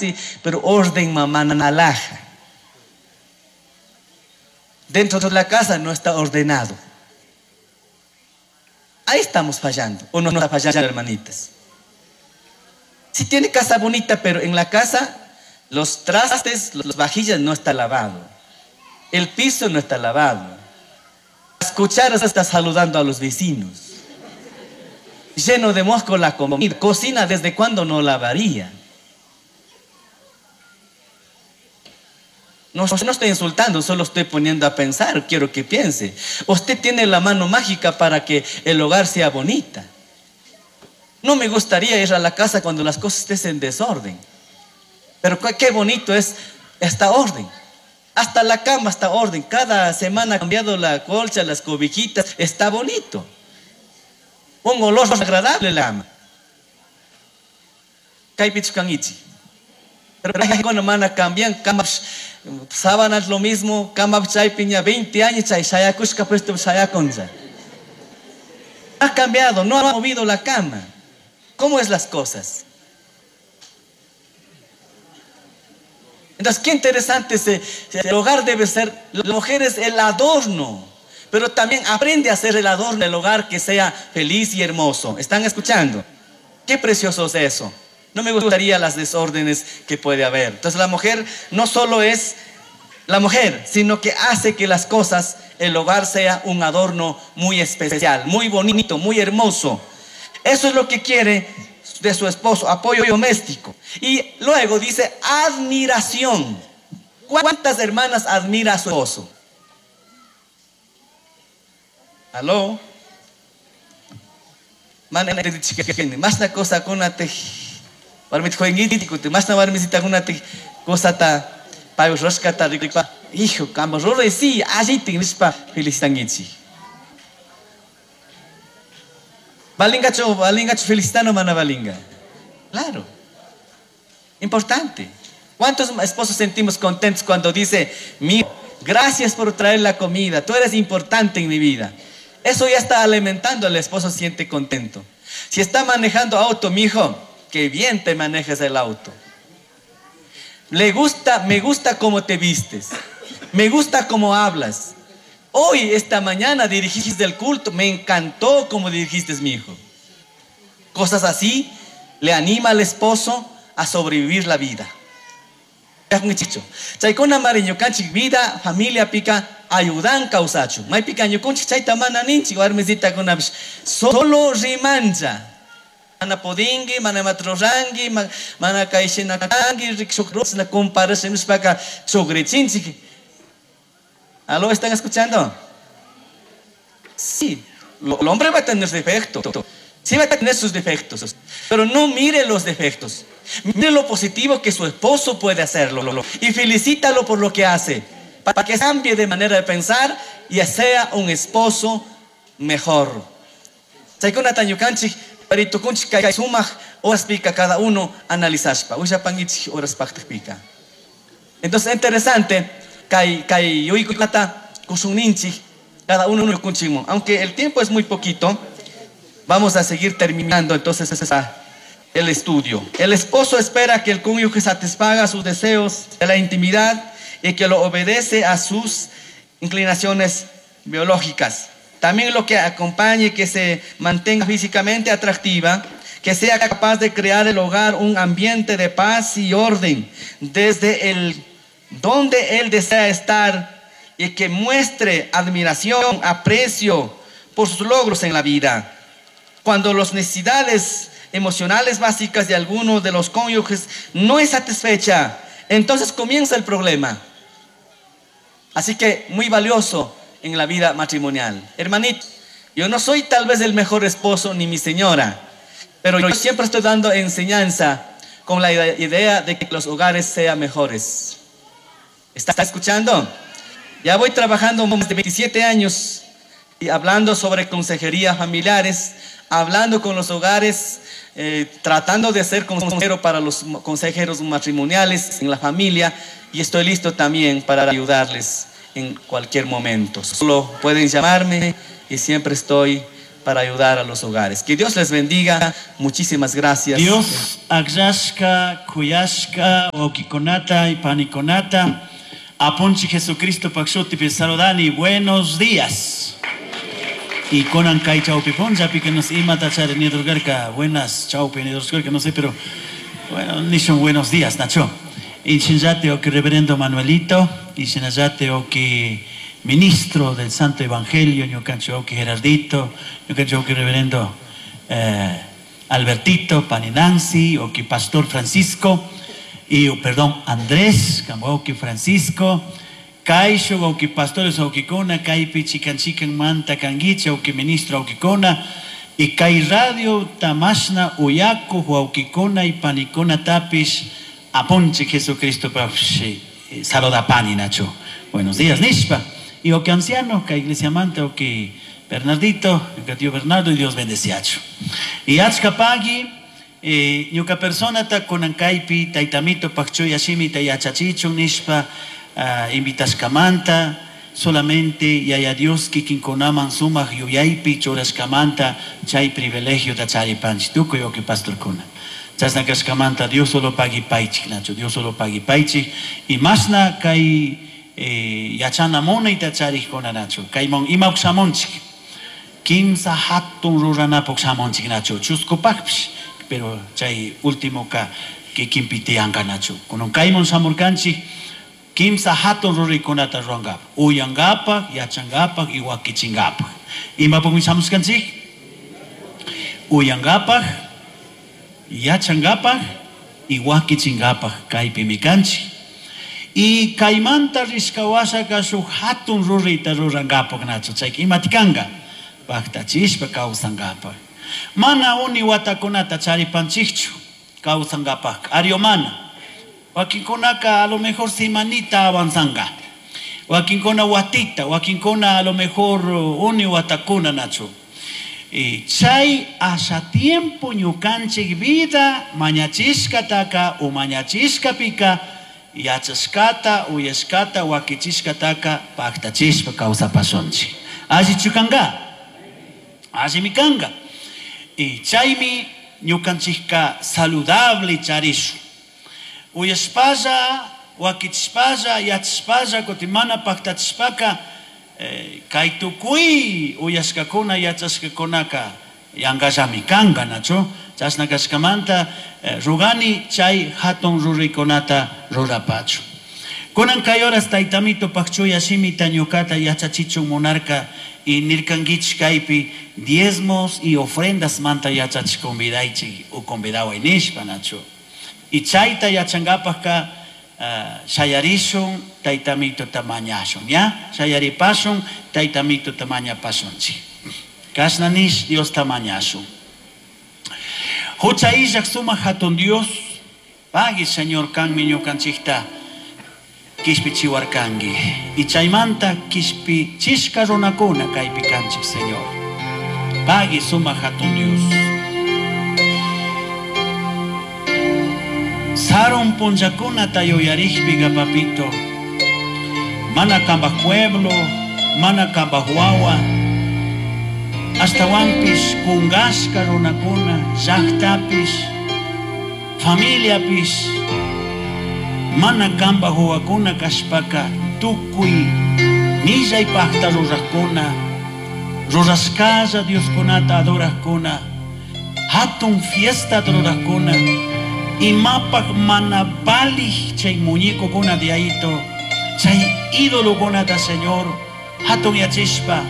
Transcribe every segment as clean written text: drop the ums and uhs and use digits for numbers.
chance, pero orden mamá alhaja. Dentro de la casa no está ordenado. Ahí estamos fallando. O no está fallando, hermanitas. Si tiene casa bonita, pero en la casa los trastes, las vajillas no está lavado. El piso no está lavado. Las cucharas está saludando a los vecinos. Lleno de mosco la comida. Cocina desde cuándo no lavaría. No, no estoy insultando, solo estoy poniendo a pensar, quiero que piense. Usted tiene la mano mágica para que el hogar sea bonita. No me gustaría ir a la casa cuando las cosas estén en desorden. Pero qué bonito es esta orden. Hasta la cama está orden. Cada semana ha cambiado la colcha, las cobijitas. Está bonito. Un olor agradable la cama. Kaypichu. Pero cuando mana cambian, camas, sábanas lo mismo, cama chaypiña 20 años, chay shayakushka puesto shayakonza. Ha cambiado, no ha movido la cama. ¿Cómo es las cosas? Entonces, qué interesante ese, el hogar debe ser, la mujer es el adorno, pero también aprende a hacer el adorno del hogar que sea feliz y hermoso. ¿Están escuchando? Qué precioso es eso. No me gustaría las desórdenes que puede haber. Entonces la mujer no solo es la mujer, sino que hace que las cosas, el hogar sea un adorno muy especial, muy bonito, muy hermoso. Eso es lo que quiere de su esposo, apoyo doméstico. Y luego dice admiración. ¿Cuántas hermanas admira a su esposo? ¿Aló? Más una cosa con cosa hijo, sí, Balingacho, balingacho felicitano mana balinga. Claro. Importante. ¿Cuántos esposos sentimos contentos cuando dice, mi, gracias por traer la comida, tú eres importante en mi vida? Eso ya está alimentando al esposo, siente contento. Si está manejando auto, mi hijo, qué bien te manejas el auto. Le gusta, me gusta cómo te vistes. Me gusta cómo hablas. Hoy, esta mañana, dirigiste el culto. Me encantó cómo dirigiste, mi hijo. Cosas así le anima al esposo a sobrevivir la vida. Chaykuna mari ñukanchik vida, familia pica, ayudan kawsachu. Maypika ñukunchik chayta mana ninchik warmisitakunapish solo rimancha. Mana podingi, mana matrorangi, mana kayshina kangi, rikshuk comparasha nishpaka chugrichinchik. ¿Aló? ¿Están escuchando? Sí, el hombre va a tener defectos. Sí va a tener sus defectos, pero no mire los defectos. Mire lo positivo que su esposo puede hacerlo y felicítalo por lo que hace, para que cambie de manera de pensar y sea un esposo mejor. Chaykunata ñukanchik paritukunchik kay sumaq horaspika cada uno analizashpa, ushapankichik horaspaqpika. Entonces, interesante, kay kay yuykunata kusunninchik cada uno ñukunchikmun. Aunque el tiempo es muy poquito, vamos a seguir terminando entonces el estudio. El esposo espera que el cónyuge satisfaga sus deseos de la intimidad y que lo obedece a sus inclinaciones biológicas. También lo que acompañe, que se mantenga físicamente atractiva, que sea capaz de crear el hogar un ambiente de paz y orden desde el donde él desea estar y que muestre admiración, aprecio por sus logros en la vida. Cuando las necesidades emocionales básicas de alguno de los cónyuges no es satisfecha, entonces comienza el problema. Así que muy valioso en la vida matrimonial. Hermanito, yo no soy tal vez el mejor esposo ni mi señora, pero yo siempre estoy dando enseñanza con la idea de que los hogares sean mejores. ¿Está escuchando? Ya voy trabajando más de 27 años y hablando sobre consejería familiares, hablando con los hogares, tratando de ser consejero para los consejeros matrimoniales en la familia, y estoy listo también para ayudarles en cualquier momento. Solo pueden llamarme y siempre estoy para ayudar a los hogares. Que Dios les bendiga. Muchísimas gracias. Dios akllashka, kuyashka, wawkikunata y panikunata, apunchik Jesucristo pak shutipi saludani, buenos días. Y kunan kay chawpi punllapi que nos imata chari nidurgarka, buenas chawpi nidurgarka, no sé, pero bueno, nishun buenos días, Nacho. Y shinllate o que reverendo Manuelito, y shinallate o que ministro del Santo Evangelio, ñukanchik o que Gerardito, ñukanchik o que reverendo Albertito, Pani Nancy, o que Pastor Francisco, y, oh, perdón, Andrés, que Francisco, Kaisho, o que pastores wawkikuna, kaypi chikan chikan manta kanguicha, o que ministro wawkikuna, y kay radio tamashna uyaku wawkikuna y panikuna tapish, apunchik Jesucristo saludapani nacho. Buenos días, nishpa. Y o que anciano, que iglesia manta, o que Bernardito, que tío Bernardo, y Dios bendeciacho. Y achka pagui, ñuka persona ta kunan kaypi, taytamito pakchuy ashimita yachachichun nishpa, invitashkamanta, solamente yaya Dios kikinkunaman sumak yuyaypi churashkamanta chay privilegio ta charipanchik tukuy wawki pastorkuna. Chashna kashkamanta Dios solo pagui paychik, nacho, Dios solo pagui paychik. Y mashna kay yachana munayta charikuna, nacho, kayman imawk shamunchik. Kimsa hatun ruranapuk shamunchik, nacho, chuskupakpish, pero chay último ka kikinpi tiyanka, nacho. Kunan kayman shamurkanchik, kimsa hatun ruraykunata rurankapak, uyankapak, yachankapak y wakichinkapak. Imapukmi shamushkanchik? Uyankapak, yachankapak y wakichinkapak kaypimi kanchik. Y kaymanta rishkawashaka shuk hatun rurayta rurankapak, nacho, chayka imati kanka? Paktachishpa kawsankapak. Mana uni watakunata charipanchikchu kawsankapak, ario mana. Wakinkunaka a lo mejor semanita avanzanga. Wakinkuna watita, wakinkuna a lo mejor uni watakuna, nacho. Y chay asha tiempo ñukanchik vida mañachishkataka o mañachishkapika yachashkata, uyashkata, wakichishkataka paktachishpa kawsapashunchik. Allichu kanga? Allimi kanga. Y chaymi ñukanchikka saludable charishun. Uyashpalla, wakichishpalla, yachashpalla, kutin mana paktachishpaka, kay tukuy uyashkakuna, yachashkakunaka yankallami kanka, nacho. Chashna kashkamanta, rugani chay hatun ruraykunata rurapachu. Kunan kay horas taytamito pakchuya shimita ñukata yachachichun munarka y nirkankichik kaypi diezmos y ofrendas manta yachachik convidaychik u convidaway nishpa, nacho. Y chayta yachankapakka, shayarishun taytamito tamañashun, ya? Shayaripashun taytamito tamañapashunchik. Kashna nish Dios tamañashun. Hucha illak sumak hatun Dios, pagui Señor kanmi ñukanchikta kishpichiwarkanki. Y chaymanta kishpichishka runakuna kaypi kanchik, Señor. Pagui sumak hatun Dios. Sarun punllakunata yuyarikpiga, papito, mana kambaj pueblo, mana kambaj wawa, ashtawanpish kungashka runakuna, llaktapish, familiapish, mana kambaj wawakuna kashpaka tukuy millay pakta rurajkuna, rurashkalla Dioskunata adorajkuna, hatun fiesta rurajkuna, imapak mana valij chay muñecokuna de aito, chay ídolokunata, Señor, hatun yachishpa,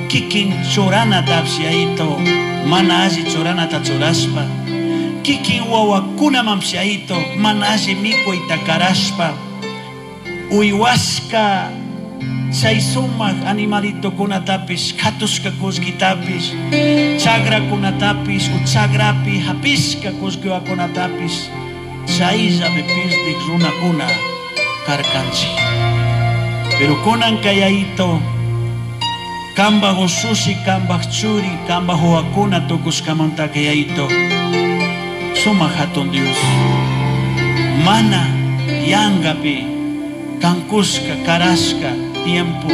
kikin churanata aito, mana alli churanata churashpa, kikin wawakunaman aito, mana alli mikuyta karashpa, uywashka chay sumak animalitokunatapish, katushka kullkitapish, chagrakunatapish, u chagrapi hapishka kullkiwakunatapish, chayllapi pirdik runakuna karkanchik. Pero kunan kay aito, kambaj ushushi, kambaj churi, kambaj wawakuna tukushkamanta kay aito, sumak hatun Dios, mana yangapi kankushka, karashka, tiempo,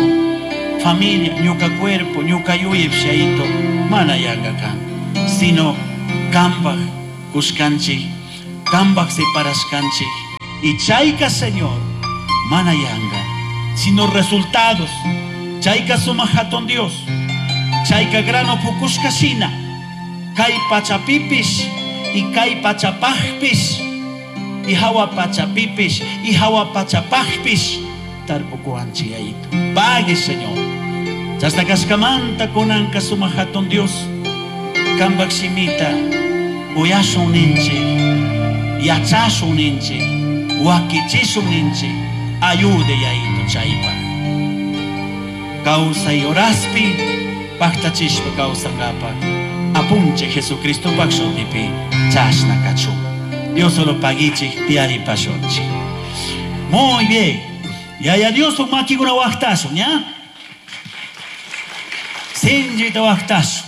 familia, ñuka cuerpo, ñuka yuyep shaito. Mana yanga kan, sino kambaj kushkanchik, kambaj separashkanchik. Y chayka, Señor, mana yanga, sino resultados. Chayka sumak hatun Dios, chayka grano pukushka shina, kay pachapipish y kay pachapajpish y hawa pachapipish y hawa pachapajpish tarpukuwanchik Yayito. Pague, Señor. Chashna kashkamanta kunanka sumak hatun Dios, kambaj shimita uyashun ninchik, yachashun ninchik, wakichishun ninchik, ayude Yayito chaypaj. Kawsay horaspi paktachishpa kawsankapaj apunchik Jesucristopaj shutipi chashna kachun. Dios solo paguichik tiyaripashunchik. Muy bien. Yaya Dios makikuna waqtashun, ¿ya? Sinchita waqtashun.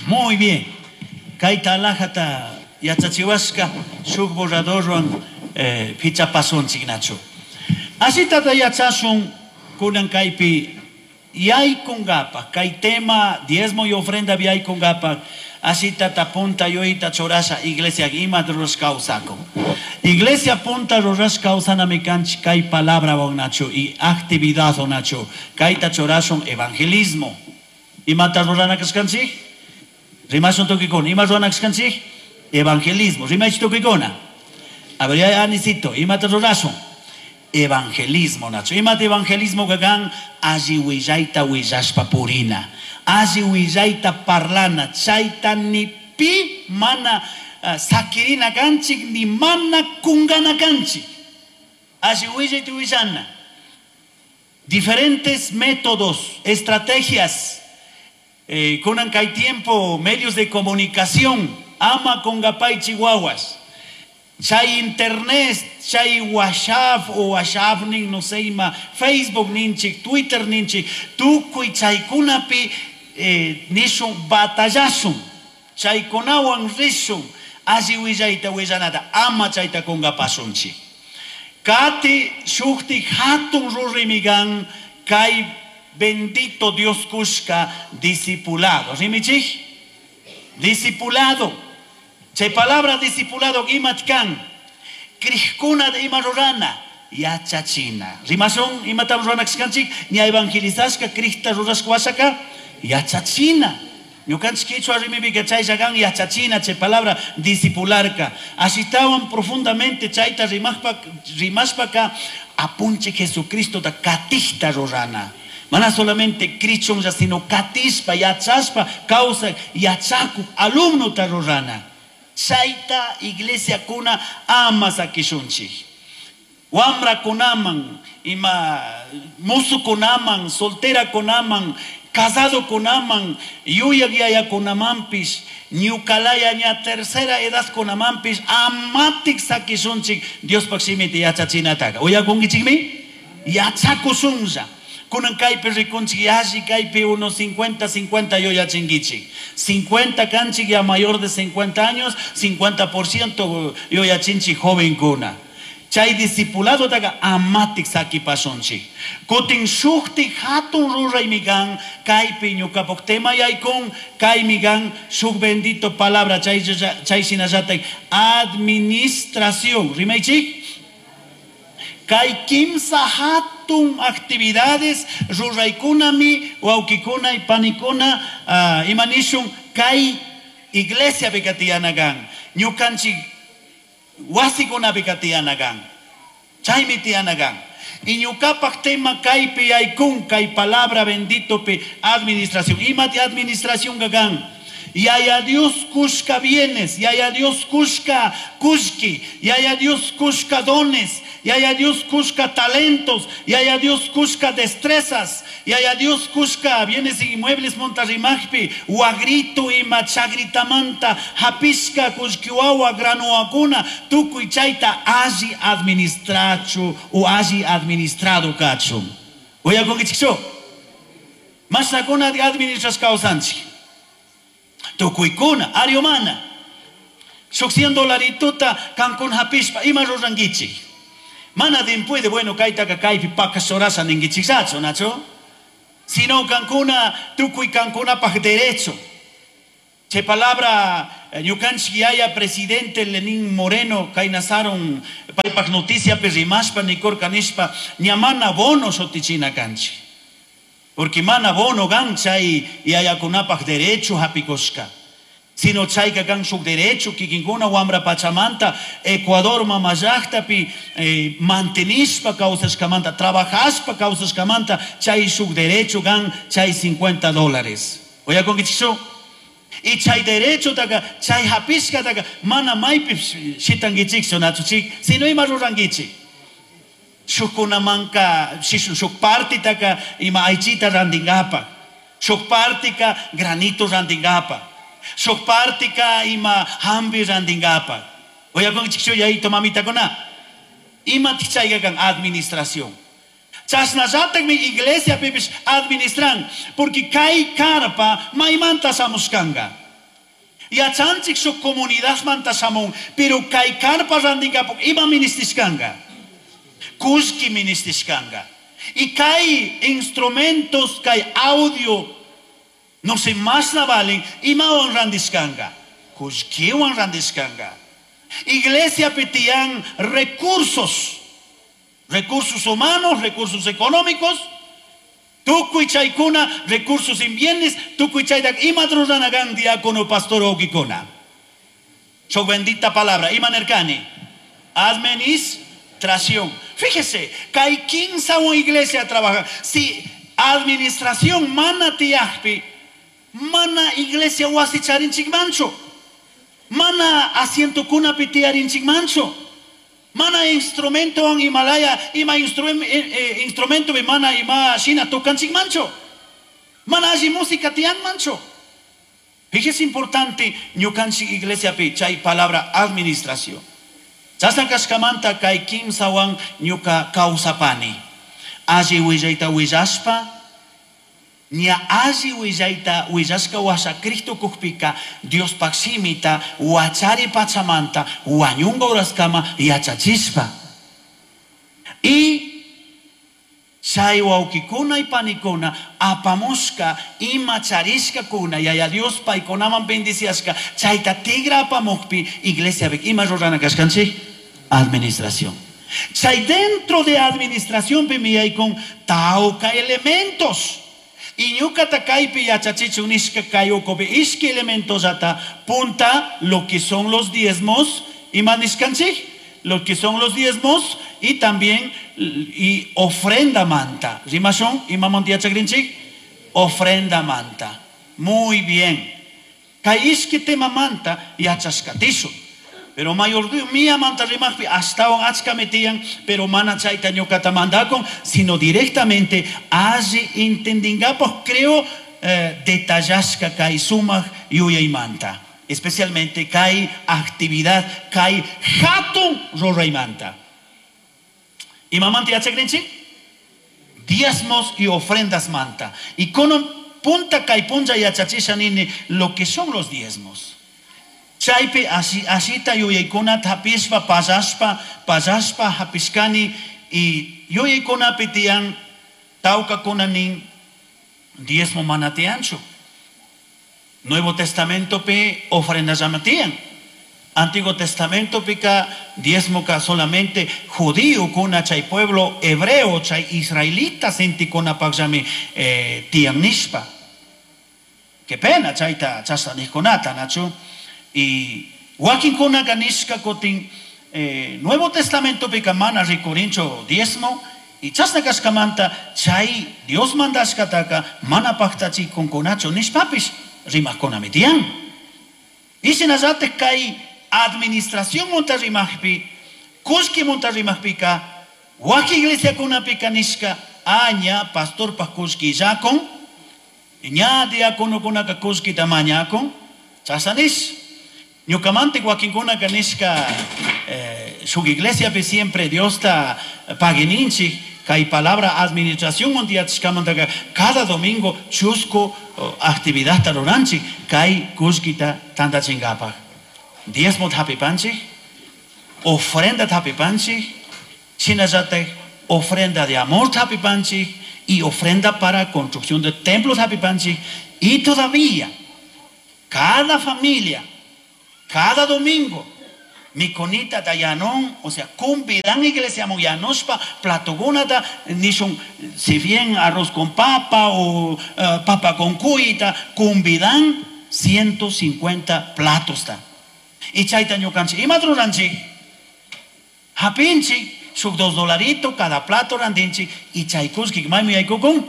Muy bien. Kayta alajata yachachiwashka shuk borradorwan fichapasunchik nachu. Ashitata yachashun kunan kaypi yaykunkapaj, kay tema diezmo y ofrenda yaykunkapaj, ashitata punta yuyta churasha iglesia ima rurash kawsakun. Iglesia punta rurash kawsanami kanchik kay palabra nachu y actividad nachu. Kayta churashun evangelismo. Imata rurana kashkanchik? Rimashun tukikuna. Ima rurana kashkanchik? Evangelismo. Rimashun tukikuna. A ver, ya anisito, imata rurashun? Evangelismo nachu. Imata evangelismo kakan? Alli willayta willashpa purina. Alli willayta parlana. Chayta ni pi mana sakirina kanchik, ni mana kungana kanchik. Alli willayta willana. Diferentes métodos, estrategias. Kunan kay tiempo, medios de comunicación. Ama con gapay chihuahuas. Chay internet, chay WhatsApp o WhatsApp nin, no sé, ima, Facebook ninchik, Twitter ninchik, tukuy chaykunapi nishun batallasun, chaykunawan rishun, alli willayta willanata, ama chayta kungapasunchik. Kati shukti hatun rurimigan kay bendito Dios kushka discipulado. Rimichik? Discipulado. Chay palabra discipulado imat kan. Krishkuna de ima rurana. Yachachina. Rimasun imatam rurana kashkanchik, ña evangelizashka Krista rurashka washaka yachachina. Ñukanchik kichwa rimipika chay llakan yachachina, chay palabra discipularka. Ashitawan profundamente chayta rimashpaka apunche Jesucristo da katishta rurana. Mana solamente krichonlla, sino katishpa, yachashpa, causa yachaku, alumno ta rurana. Chayta iglesia kuna ama sakishunchik. Wamra kunaman, ima musu kunaman, soltera kunaman, casado kunaman, yuyak yaya kunamanpis, ñukalaya ña tercera edad kunamanpis, amatik sakishunchik, Diospaj shimita yachachinataka. Uyakunkichikmi? Yachakushunlla. Kunan kaypi rikunchik yalli kaypi unos 50, 50 yuyachinkichik. 50 kanchik ya mayor de 50 años, 50% yuyachinchik jovenkuna. Chay discipulado taka amatik sakipashunchik. Kutin shuktik hatun ruraymi kan, kaypi ñukapuk tema yaykun, kaymi kan shuk bendito palabra chay, chay shinallatak administración. Rimaychik? Kay kimsa hatun actividades ruraykunami, wawkikuna y panikuna, imanishun kay iglesia pikatiyanakan, ñukanchik wasikuna pikatiyanakan, chaymi tiyanakan. Y ñukapak tema kaypi yaykun, kay palabra bendito pi administración. Imati administración kakan? Yaya Dios kushka bienes, Yaya Dios kushka kushki, Yaya Dios kushka dones, Yaya Dios kushka talentos, Yaya Dios kushka destrezas, Yaya Dios kushka bienes y inmuebles montarrimajpi, wagrito y machagritamanta, hapishka kushkiwawa granuakuna, tukuy chayta alli administrachu o alli administrado kachu. Uyakunkichikchu? Masakuna de administras kawsanchik. Tukuykuna, ariomana. Shuk cien dolarituta kankun hapishpa, ima rurankichik. Mana dimpuede, bueno, kaytaka kaypi pakashorasha ninkichiksachu, nacho? Sino kankuna tukuy kankunapaj derecho. Che palabra ñukanchik yaya presidente Lenín Moreno kaynasaron paypaj noticiapi rimashpa nikurka nishpa ña mana bono shutichina kanchik. Porque mana bono gan chay yayakunapaj derecho hapikushka. Sino chayka kan shuk derecho kikinkuna wamra pachamanta Ecuador mama llaqtapi mantenishpa kawsashkamanta trabajashpa kawsashkamanta chay shuk derecho gan chay $50. Uyakunkichikchu? Y chay derecho taka chay hapishka taka mana maypi shitankichikchu nachuchik, sino ima rurankichik. Shukkunamanka shuk partitaka ima aychita randinkapa, shuk partika granito randinkapa, shuk partika ima hambi randinkapa. Uyakunkichikchu yayito mamitakuna? Imatik chayka kan administración. Chasnallatakmi iglesia pipish administran, porque kay carpa maymanta shamushkanka. Yachanchik shuk comunidadmanta shamun, pero kay carpa randinkapuk ima ministishkanka. Kullki ministishkanka. Y kay instrumentos, kay audio, no sé más na valen, imawan randishkanka. Kullkiwan randishkanka. Iglesia pitian recursos. Recursos humanos, recursos económicos, tukuy chaykuna, recursos en bienes, tukuy chaydak ima ruranagan diácono pastor okikuna. Shuk bendita palabra, ima nerkani. Administración. Fíjese, kay kinsa iglesia trabaja. Si administración mana tiyajpi, mana iglesia wasi charinchikmanchu, mana asiento kunapi tiyarinchikmanchu. Mana instrumento en Himalaya, ima instrumento mana ima shina tocanchik mancho. Mana allí música tian mancho. Fíjese importante ñukanchik iglesia pi chay palabra administración. Chasna kashkamanta kay kimsawan ñuka kawsapani. Alli willayta willashpa, ña alli willayta willashka washa Cristo kukpika Diospaj shimita wachari pachamanta wañunga uraskama yachachishpa. Y chay wawkikuna y panikuna apamushka ima charishkakuna yaya Dios paykunaman bendiciashka chayta tigra apamukpi iglesia bik ima rurana kashkanchik administración. Chay dentro de administración pi miyay con tauka elementos. Y ñukata kaypi yachachichun nishka kay ukupi ishki elementos ata punta lo que son los diezmos ima nishkanchik, lo que son los diezmos y también y ofrenda manta. Rimashon ima manta yachakrinchik, ofrenda manta. Muy bien. Kay ishki tema manta yachashkatishu. Pero mayordomía manta rimajpi astawan achka metian, pero mana chayta ñukata mandakon, sino directamente alli entendingapaj creo detallashka kay sumaj yuyaymanta. Especialmente kay actividad, kay hatun ruraymanta. Imamanta yachakrinchik? Diezmos y ofrendas manta. Y con un punta kay puncha yachachisha nini lo que son los diezmos. Chaypi asita yuyaykunata hapishpa, pasashpa, pasashpa hapishkani y yuyaykunapi tiyan tawkakuna nin diezmo mana tiyanchu. Nuevo Testamento pi ofrenda llama tiyan. Antiguo Testamento pika diezmo ka solamente judío kuna chay pueblo hebreo chay israelita sintikuna pakllami tiyan nishpa. Qué pena chayta chasna nijkunata nachu. Y wakinkuna kanishka kotin Nuevo Testamento pika mana rikurincho diezmo y chasna kashkamanta chay Dios mandashkataka mana paktachi kunkunacho nishpapish rimajkunami tiyan. Y shinallate kay administración monta rimajpi, kullki monta rimajpika, waki iglesia kunapika nishka aña pastor pa kullki yakon, ña diácono kunaka kullki tamañakon, chasanish. Ñukamante wakinkunaka nishka shuk iglesia pi siempre Dios ta paguininchik, kay palabra administración montiachkamantaka cada domingo chusco actividad ta ruranchik, kay kullkita tantachinkapak. Diezmo tapipanchik, ofrenda tapipanchik, shinallatak ofrenda de amor tapipanchik Y ofrenda para construcción de templos hapipanchik. Y todavía, cada familia, cada domingo, mikonita dayanon, o sea, cumbidan iglesia moyanospa, platogunata, nishun, si bien arroz con papa o papa con cuita, cumbidan 150 platos ta. Y chayta ñukanchik, ima ruranchik? Hapinchik, shuk 2 dolaritos cada plato randinchik, y chaykushkik maymi yaykukun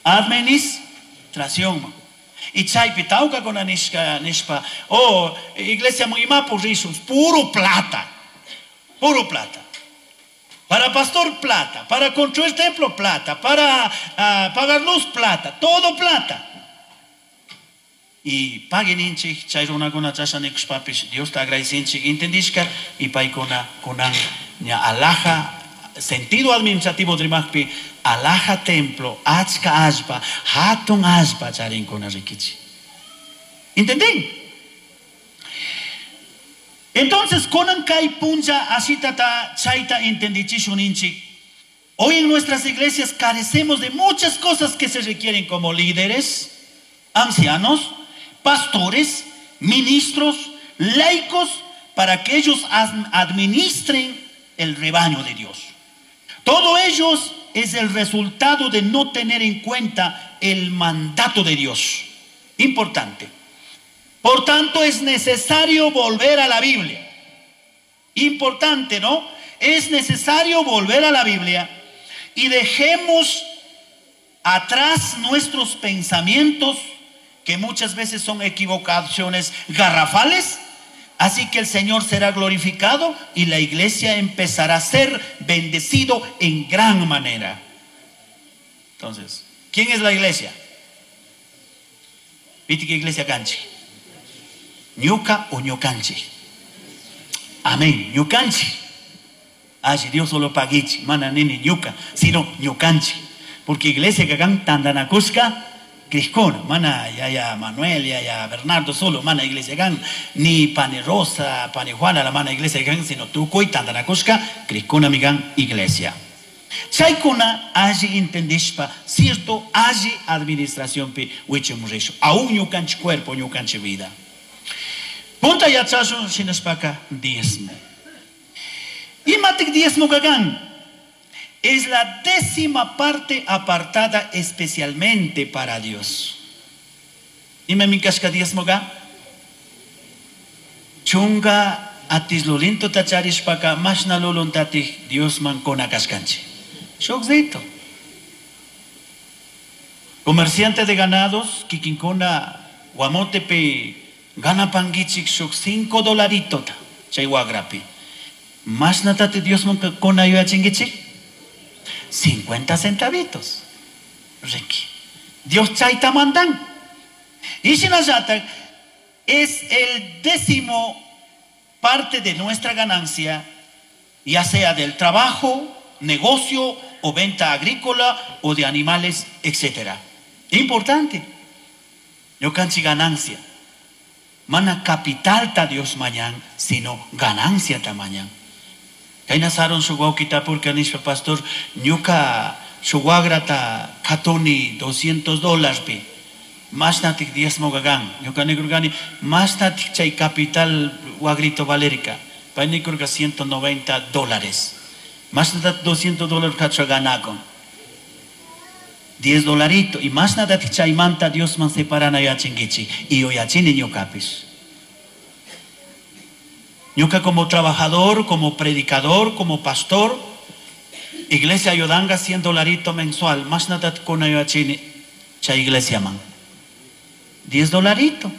administración. Y chaypi tawka kuna nishka, nishpa, oh, iglesia imapu rishun, puro plata, puro plata. Para pastor plata, para construir templo plata, para pagar luz plata, todo plata. Y paguen inchik, chay runakuna chasha nikushpapish, Dios te agradecinchik, intendishka, y paykuna kunan ña alhaja, sentido administrativo rimajpi, alhaja templo, achka allpa, hatun allpa charinkuna rikichi. ¿Entendí? Entonces, kunan kay punlla asitata chayta entendichishun inchik. Hoy en nuestras iglesias carecemos de muchas cosas que se requieren como líderes, ancianos, pastores, ministros, laicos, para que ellos administren el rebaño de Dios. Todo ello es el resultado de no tener en cuenta el mandato de Dios. Importante. Por tanto, es necesario volver a la Biblia. Importante, ¿no? Es necesario volver a la Biblia y dejemos atrás nuestros pensamientos, que muchas veces son equivocaciones garrafales. Así que el Señor será glorificado y la iglesia empezará a ser bendecido en gran manera. Entonces, ¿quién es la iglesia? ¿Viste qué iglesia canchi? ¿Ñuca o ñucanchi? Amén, ñucanchi. Ay, Dios solo paguichi, mana nini ñuca, sino ñucanchi. Porque iglesia que hagan tandanacushka, Criscona, mana ya Manuel, ya Bernardo solo, mana iglesia gan, ni pane Rosa, pane Juana, la mana iglesia gan, sino tukuy tandanacushka, Criscona migan iglesia. Chaykuna alli entendishpa, cierto, alli administración pi wichimurisho, aún ñukanchi cuerpo, ñukanchi vida. Punta yachashun shinashpaka diezmo. Imatik diezmo gagan? Es la 10ª parte apartada especialmente para Dios. Ima minkashka diezmo ga? Chunga atislulinto tacharishpaka mashna luluntatij Dios man kona kashkanchi. Shukzito. Comerciante de ganados, kikinkuna guamotepe gana pangichik shuk 5 dolarito ta, chay wagrapi. Mashna tate Dios man kona yuyachingichik? 50 centavitos. Ricky. Dios chayta mandan. Y shinallata es el 10º parte de nuestra ganancia, ya sea del trabajo, negocio o venta agrícola o de animales, etcétera. Importante. Yo canchi ganancia. Mana capital ta Dios mañan, sino ganancia ta mañan. Kayna saron su guauquita porque anishpa pastor ñuka su guagrata katoni doscientos dólares pi. Más natik diezmo gagan. Ñuka negrugani, más natik chay capital guagrito valerica. Pay negrurga ciento noventa dólares. Más natik doscientos dólares cacho ganakon. 10 dolarito. Y más natik chay manta Dios man separana yachingichi. Y yo yachini ñukapis. Ñuka como trabajador, como predicador, como pastor, iglesia ayudanga 100 dolarito mensual, más nada con ayuachini, cha iglesia man. 10 dolarito.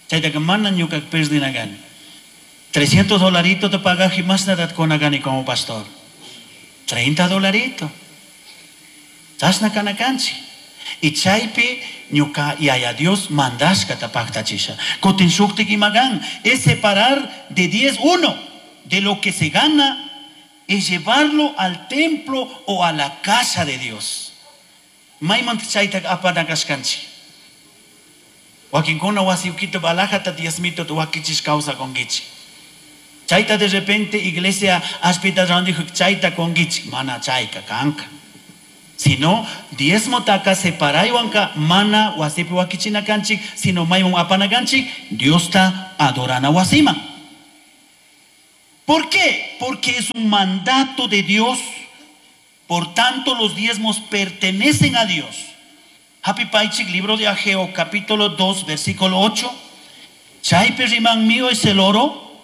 Chayta que mana ñuka perdina gani. 300 dolarito te pagas y más nada con agani como pastor. 30 dolarito. Chasna kanakanchi. Y chaypi ñuka yaya Dios mandashka tapakta chisha. Kotin shuktik imagan es separar de 10 uno de lo que se gana es llevarlo al templo o a la casa de Dios. Maymanta chayta apanakashkanchi. Wakinkuna wasiukito balajata diezmito wakichis causa kongichi. Chayta de repente iglesia aspita randijo chayta kongichi. Mana chayka kanka. Sino diezmotaka separaywanka mana wasipi wakichina kanchik, sino mayman apana kanchik, Diosta adorana wasiman. ¿Por qué? Porque es un mandato de Dios. Por tanto, los diezmos pertenecen a Dios. Happy Paichik, libro de Ageo, capítulo 2, versículo 8. Chaypi riman, mío es el oro,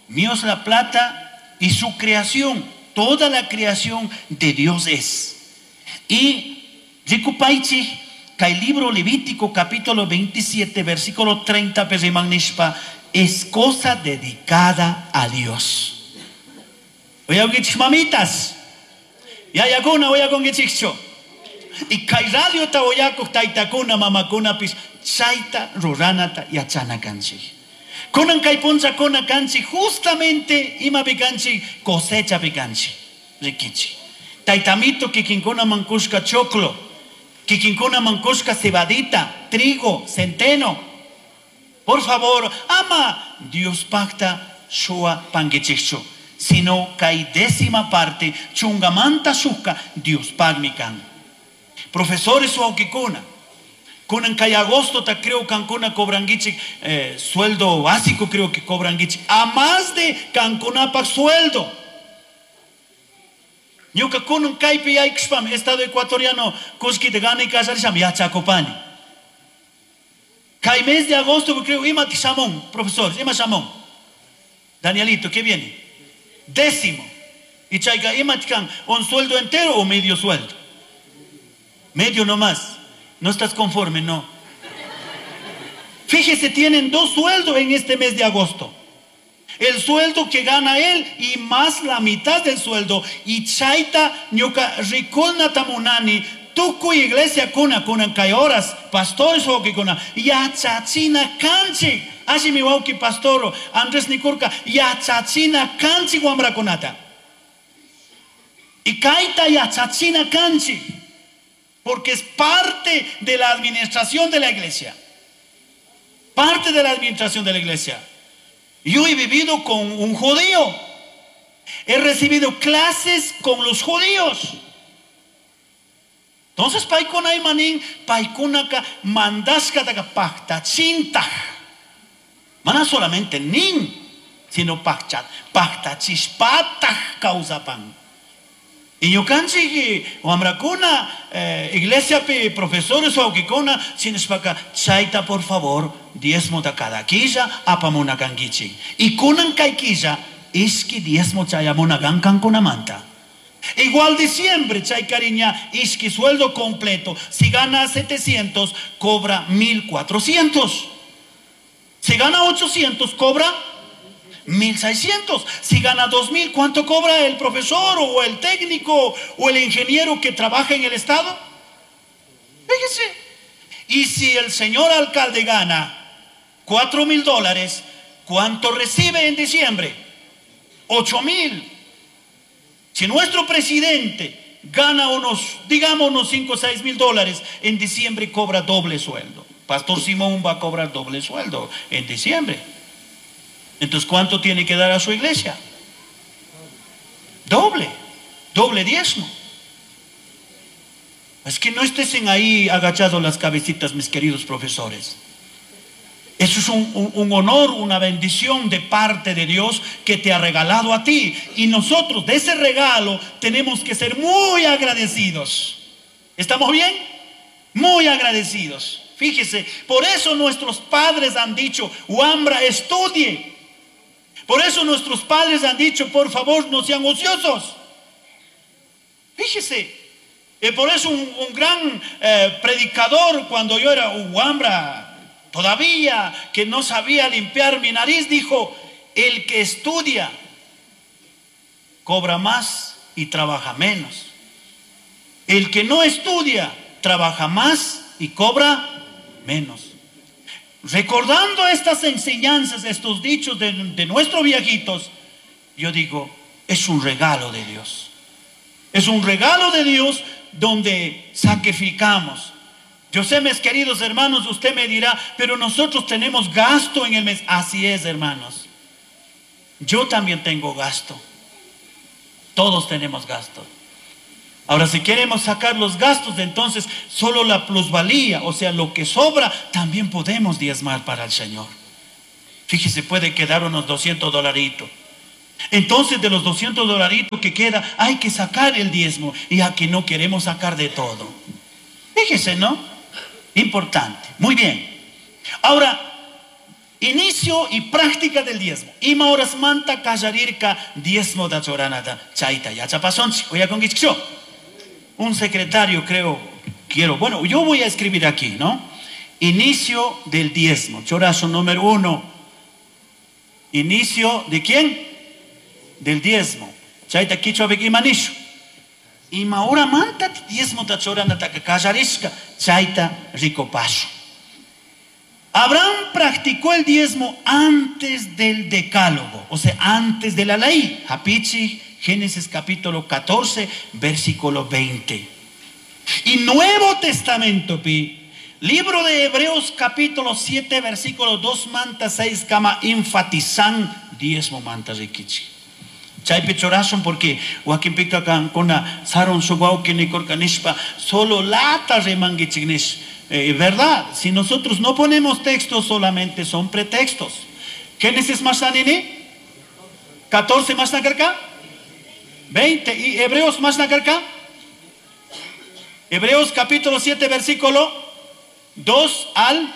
mío es la plata y su creación. Toda la creación de Dios es. Y Rikupaichik, kay libro Levítico, capítulo 27, versículo 30, riman nishpa, es cosa dedicada a Dios. Oye, mamitas. Yayakuna, oyakunkichikchu. Y kay radiota oyakuq taytakuna, mamakunapis, chayta ruranata yachana kanchik. Kunan kay punchakuna kanchik, justamente imapi kanchik, cosechapi kanchik. Rikichik. Taytamito kikinkuna mankushka choclo, kikinkuna mankushka cebadita, trigo, centeno. Por favor, ama Dios pacta shua pangichikchu, sino kay décima parte chungamanta shuka Dios pagmi kan. Profesores wawkikuna, kunan kay agosto ta creo kankuna cobranguichik, sueldo básico creo que cobranguichik, a más de kankunapaq sueldo. Ñuka kunan kaypi yaykushpami Estado ecuatoriano kullkita ganay kallarishami yachakupani. Kay mes de agosto creo ima shamun, profesores, ima shamun. Danielito, ¿qué viene? Décimo. Y chayka ima kan, un sueldo entero o medio sueldo. Medio nomás. No estás conforme, no. Fíjese, tienen 2 sueldos en este mes de agosto. El sueldo que gana él y más la mitad del sueldo. Y chayta ñuka rikuna tamunani, tukuy iglesia kuna, kunan kay horas, pastores wawkikuna, yachachina kanchik. Así mi wawki pastor Andrés Nikurka, yachachina kanchik wamrakunata. Y kayta yachachina kanchik, porque es parte de la administración de la iglesia. Parte de la administración de la iglesia. Yo he vivido con un judío. He recibido clases con los judíos. Entonces, paikuna imanin, paikunaka mandashka taka pacta chinta. Mana solamente nin, sino pacta, pacta chispata causapan. Y ñukanchik wamrakuna, iglesia pi profesores wawkikuna, sinishpaka chayta por favor diezmo ta cada quilla apamuna kankichik. Y kunan kay quilla ishki diezmo chayamuna kankunamanta. Igual diciembre, chay cariña, ishki sueldo completo. Si gana 700, cobra 1400. Si gana 800, cobra 1600. Si gana 2000, ¿cuánto cobra el profesor o el técnico o el ingeniero que trabaja en el estado? Fíjese. Y si el señor alcalde gana 4000 dólares, ¿cuánto recibe en diciembre? 8000. Si nuestro presidente gana unos, digamos, unos 5 o 6 mil dólares, en diciembre cobra doble sueldo. Pastor Simón va a cobrar doble sueldo en diciembre. Entonces, ¿cuánto tiene que dar a su iglesia? Doble, doble diezmo. Es que no estén ahí agachados las cabecitas, mis queridos profesores. Eso es un honor, una bendición de parte de Dios que te ha regalado a ti. Y nosotros de ese regalo tenemos que ser muy agradecidos. ¿Estamos bien? Muy agradecidos. Fíjese, por eso nuestros padres han dicho, Wambra, estudie. Por eso nuestros padres han dicho, por favor, no sean ociosos. Fíjese, y por eso un gran predicador, cuando yo era un Wambra, todavía que no sabía limpiar mi nariz, dijo, el que estudia cobra más y trabaja menos. El que no estudia trabaja más y cobra menos. Recordando estas enseñanzas, estos dichos de nuestros viejitos, yo digo, es un regalo de Dios. Es un regalo de Dios donde sacrificamos. Yo sé, mis queridos hermanos, usted me dirá, pero nosotros tenemos gasto en el mes. Así es, hermanos. Yo también tengo gasto. Todos tenemos gasto. Ahora, si queremos sacar los gastos, entonces solo la plusvalía, o sea, lo que sobra, también podemos diezmar para el Señor. Fíjese, puede quedar unos 200 dolaritos. Entonces, de los 200 dolaritos que queda, hay que sacar el diezmo. Y aquí no queremos sacar de todo. Fíjese, ¿no? Importante. Muy bien. Ahora, inicio y práctica del diezmo. Ima horas manta kallarirka diezmo da choranata chayta yachapashunchik. Uyakunkichikchu. Un secretario, creo, quiero. Bueno, yo voy a escribir aquí, ¿no? Inicio del diezmo. Chorazo número 1. Inicio de quién? Del diezmo. Chayta kichwa ima nishu. Ima hora manta diezmo ta choranata kallarishka chayta rikupashun. Abraham practicó el diezmo antes del decálogo, o sea, antes de la ley. Hapichi, Génesis capítulo 14, versículo 20. Y Nuevo Testamento, pi, libro de Hebreos capítulo 7, versículo 2 manta 6, kama enfatizan diezmo manta rikichi. Chaypi churashun porque wakinpika kankuna sarun shuk wawki nikurka nishpa solo lata rimankichik nish. ¿Verdad? Si nosotros no ponemos textos, solamente son pretextos. Génesis más nini? 14 más nakarka? 20. ¿Y Hebreos más nakarka? Hebreos capítulo 7, versículo 2 al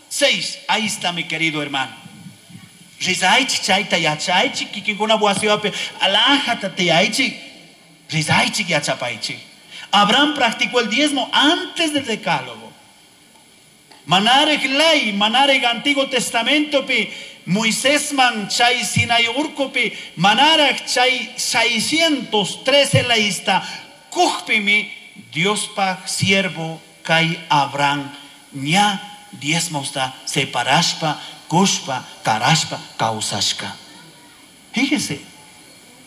6. Ahí está, mi querido hermano. Rizaichi chayta yachaychi, kikinkuna wasiwapi alajata tiyaychi, rizaichi yachapaychi. Abraham practicó el diezmo antes del decálogo. Manarek ley, manarek Antiguo Testamento pi, Moisés man chay Sinai urkupi, manarek chay 613 leista, kujpimi, Dios pa siervo kai Abraham, ña diezmosta separashpa, kushpa, karashpa, kausashka. Fíjese.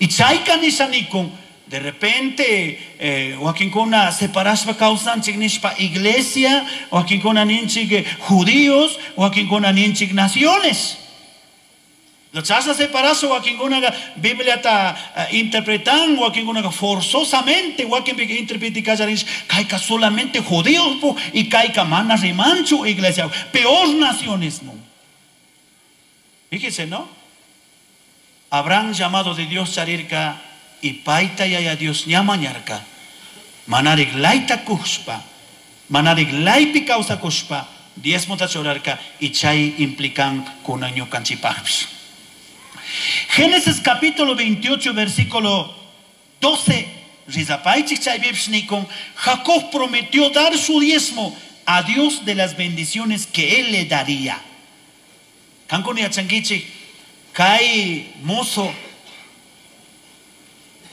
Y chayka nishanikun, de repente, wakinkuna separashpa kawsanchik nishpa iglesia, wakinkuna ninchik judíos, wakinkuna ninchik naciones. Los chasas separasho, wakinkuna Biblia ta interpretan, wakinkuna forzosamente, wakinpika interpretikallarinish, kayka solamente judíos po, y kayka mana rimanchu iglesia, peor nacionismo. Fíjese, ¿no? Abraham llamado de Dios charirka, y paita yaya Dios ñamañarka. Manarik laita kushpa, manarik laipi causa kushpa, diezmo tachorarka, y chay implican kunan ñukanchipajpis. Génesis capítulo 28, versículo 12, Rizapaichik chay bibshnikon, Jacob prometió dar su diezmo a Dios de las bendiciones que él le daría. Kankuni yachankichik, kay mozo,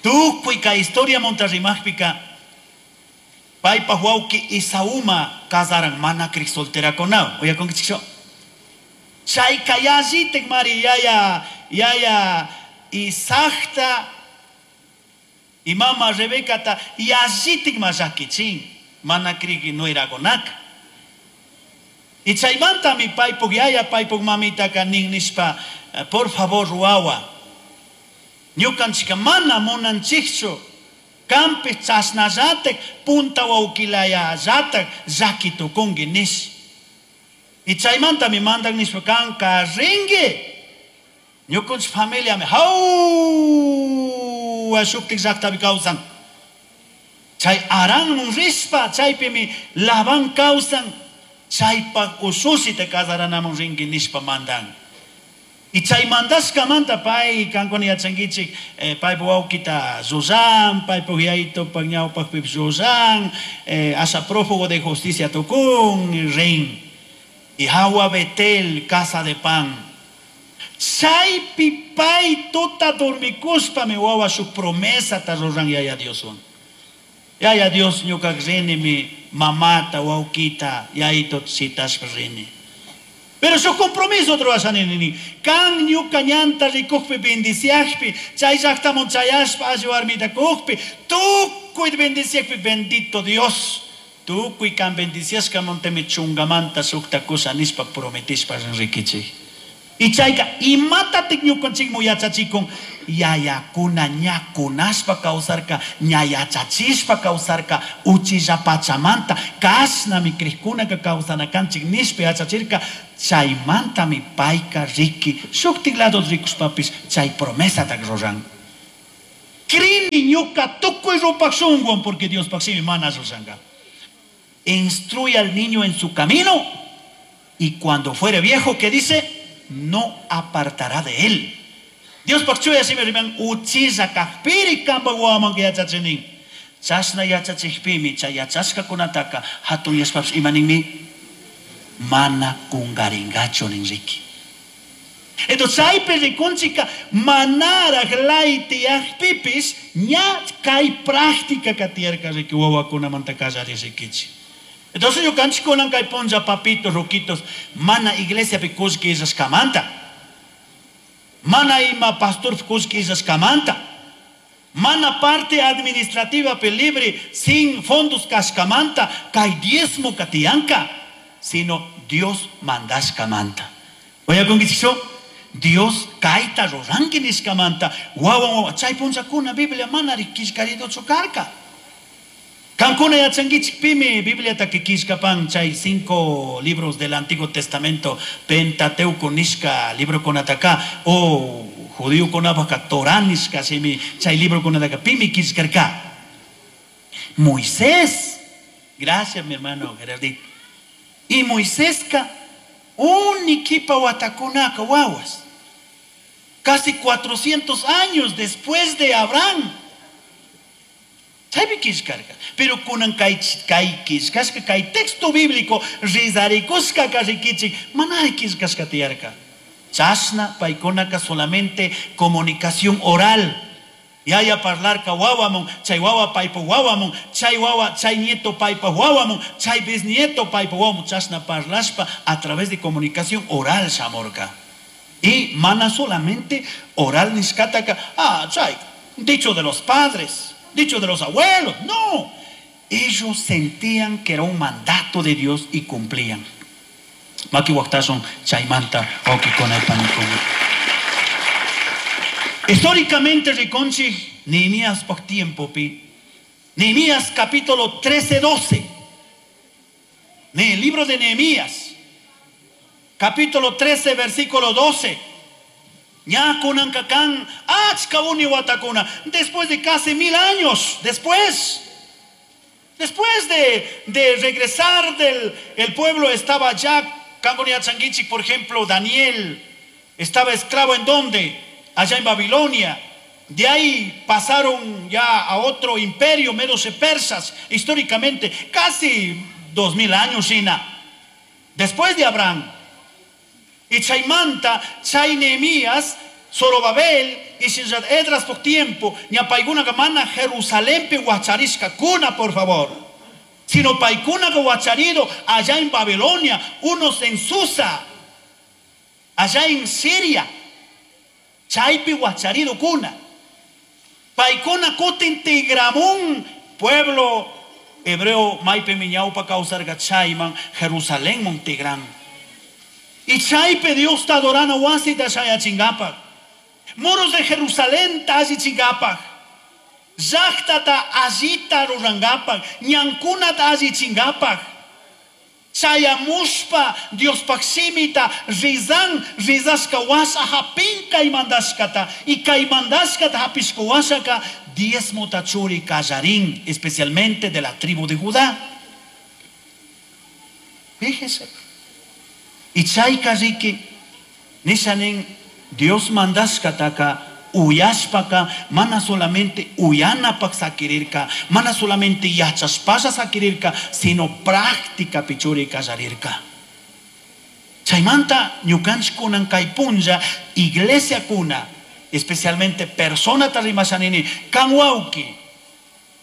tukuy kay historia montarrimajpika, paypa wawqi Esauma kasaran mana krik solterakunawan. Uyakunkichikchu? Chayka yallitik mari yaya, yaya Isaacta y mama Rebecata yallitik ma llakichin, mana krik nuerakunaka. Y chaymantami paypuk yaya, paypuk mamitaka nin nishpa, por favor wawa, ñukanchika mana munanchikchu, kampi chasnallatak, punta wawkilayallatak llaki tukunki nish. Y chaymantami mandan nishpa kanka rinki. Ñukanchik familiami hawa shuktik llaktapi kawsan. Chay Aranmun rishpa, chaypimi Labán kawsan, chaypak usushita kasaranamun rinki nishpa mandan. Y chay mandashkamanta pay kankuna yachankichik, paypa wawkita Zuzan, paypa yayitopak ñawpakpip Zuzan, asa prófugo de justicia tukun, rin. Y hawa Betel, casa de pan. Chaypi pay tuta dormikuspa mi wawa su promesa ta ruran yaya Dioswan. Yaya Dios ñukak rini mi mamata wawkita yayito sitashpa rini. Pero su compromiso otro ni kan ñuka ñanta rikukpi bendiciakpi, chay llaktamun chayashpa alli warmita kukpi, tukuy bendiciakpi, bendito Dios. Tukuy kan bendiciashka montemi chungamanta sukta kusa nishpa prometishpa rikichik. Y chayka imatatik ñukanchikmu yachachikun yayakuna ña kunashpa kawsarka, ña yachachishpa kawsarka, uchilla pachamanta kashnami crikkunaka kawsanakanchik nishpa yachachirka, chaymantami payka riki shuktik lado rikushpapish chay promesatak ruran. Crini ñuka tukuy rupak shunguwan porque Diospaj shimi mana llullanka. Instruye al niño en su camino y cuando fuere viejo, ¿qué dice? No apartará de él. Diospaj chuya shimi riman uchilla kajpiri kanpak wawaman yachachinin. Chashna yachachikpimi chay yachashkakunataka hatun yashpapish ima ninmi? Mana kungaringachu nin riki. Entonces chaypi rikunchika manaraj lay tiyakpipis ña kay práctica tiyarka riki wawakunamanta kallari rikichik. Entonces ñukanchik kunan kay punlla papitos, ruquitos, mana iglesiapi kullki illashkamanta, mana ima pastor kullki illashkamanta, mana parte administrativapi libre sin fondos kashkamanta kay diezmo tiyanka, sino Dios mandashkamanta. Oyakunkichikchu? Dios kayta ruranki nishkamanta, wawan wawa chay punllakuna Biblia mana killkariduchu karka. Kankuna yachankichik pimi Bibliata killkapan chay 5 libros del Antiguo Testamento, Pentateuco nishka librokunataka o judíokunapajka Torah nishka shimi chay librokunataka pimi killkarka. Moisés. Gracias, mi hermano Gerardito. Y Moiséska unikipa watakunaka wawas. Casi 400 años después de Abraham. Chaypi killkarka. Pero kunan kay killkashka kay texto bíblico rizarikushka rikichik manari killkashka tiyarka. Chashna paykunaka solamente comunicación oral. Yaya parlarka wawamun, chay wawa paypa wawamun, chay wawa, chay nieto paypa wawamun, chay bisnieto paypa wawamun, chashna parlashpa a través de comunicación oral shamorka. Y mana solamente oral nishkataka, chay, dicho de los padres, dicho de los abuelos, no. Ellos sentían que era un mandato de Dios y cumplían. Maki waktasun chaymanta wawkikuna panikuna. Históricamente rikunchik Nehemías por tiempo pi. Nehemías capítulo 13, 12. En el libro de Nehemías, capítulo 13, versículo 12. Ña kunan kakan, achka uni watakuna. Después de casi 1000 años, después de regresar del el pueblo estaba ya, Kangonia Changuichi, por ejemplo, Daniel estaba esclavo en dónde? Allá en Babilonia. De ahí pasaron ya a otro imperio, medos y persas, históricamente, casi 2000 años, China. Después de Abraham. Y Chaymanta, Chay Nehemías, Zorobabel y Shinjad Edras por tiempo, ñapaiguna gamana Jerusalén pe huacharishka cuna, por favor. Sino paikuna que huacharido allá en Babilonia, unos en Susa, allá en Siria. Chaypi huacharido cuna. Paikuna kutin tigramun, pueblo hebreo maipe miñaupa causarga chayman, Jerusalén montigran. Y chaype Dios ta adorando wasita chayachingapa. Muros de Jerusalén ta allichingapa. Llaqta ta allita rurangapa. Ñankuna ta allichingapa. Chayamushpa Diospaj shimita rizan rizashka washa hapin kay mandashkata. Y kay mandashkata hapishka washaka diezmo tachuri kallarín, especialmente de la tribu de Judá. Fíjese. Y chayka riki nishanin Dios mandashkataka uyashpaka mana solamente uyanapak sakirirka, mana solamente yachashpalla sakirirka, sino práctica pichuri kallarirka. Chaymanta ñukanchik kunan kay punlla iglesia kuna, especialmente persona tarimashanini kan wawki,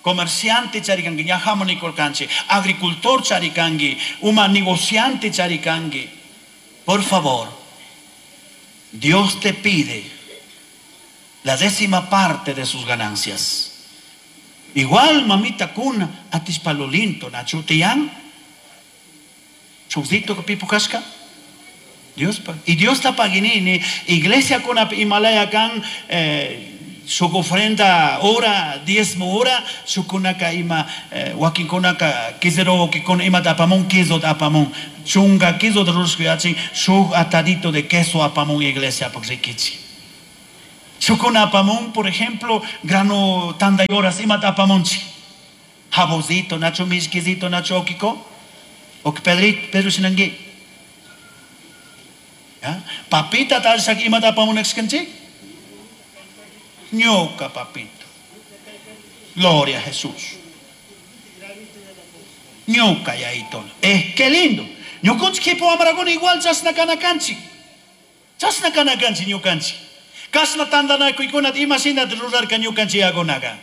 comerciante charikanki, ñajamu nikurkanchik, agricultor charikanki, uma negociante charikanki. Por favor, Dios te pide la 10ª parte de sus ganancias. Igual, mamita kuna, atis palolinto, nachutian, chusito que pipo casca. Dios y Dios ta paginini iglesia kuna Himalaya kan shuk ofrenda hora diezmo hora shukunaka ima wakinkunaka quesero wakikuna imata apamun queso apamun chunga queso rushkuyachin shuk atadito de queso apamun iglesia pak rikichi. Shukuna apamun, por ejemplo, grano tanda y horas imata apamunchi. Jabocito, nacho mishkizito, nacho okiko. Ok Pedrito, Pedro sinangui. ¿Ya? Papita tal shak imata apamun exkanchi. Ñoca, papito. Gloria a Jesús. Ñoca y ahí todo. Es que lindo. Ñoconchi kipo amaragón igual chasna kanakanchi. Chasna kanakanchi ñokanchi. Kasna tandana kuikunat imashina rurarka ñukanchi agonaga.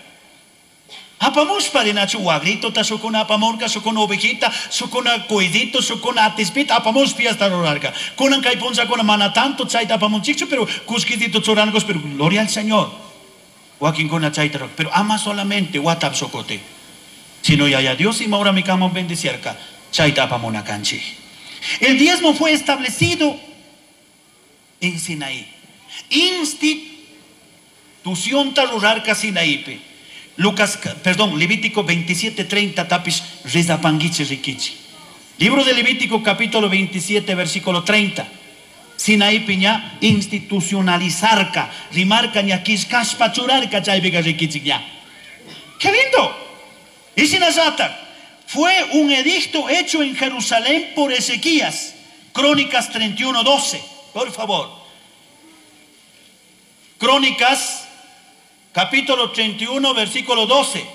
Apamushpa dinachu wagrito ta shukuna apamurka shukuna ovejita shukuna cuidito shukuna atispita apamushpi hasta rurarka. Kunan kay punchakuna mana tanto chayta apamunchikchu pero kushkitito churangos pero gloria al Señor. Wakinkuna chayta rurarka. Pero ama solamente watap shokote. Sino ya Dios y maura mi kama bendecierka chayta apamunakanchi. El diezmo fue establecido en Sinaí. Institución ta rurarka Sinaípe. Levítico 27:30 tapis rezapanguiche riquichi. Libro de Levítico capítulo 27 versículo 30. Sinaí piña institucionalizarca, rimarca ña quiscaspa churarca chaypica riquichi ña. ¡Qué lindo! Y sinasata, fue un edicto hecho en Jerusalén por Ezequías. Crónicas 31:12. Por favor. Crónicas capítulo 31, versículo 12.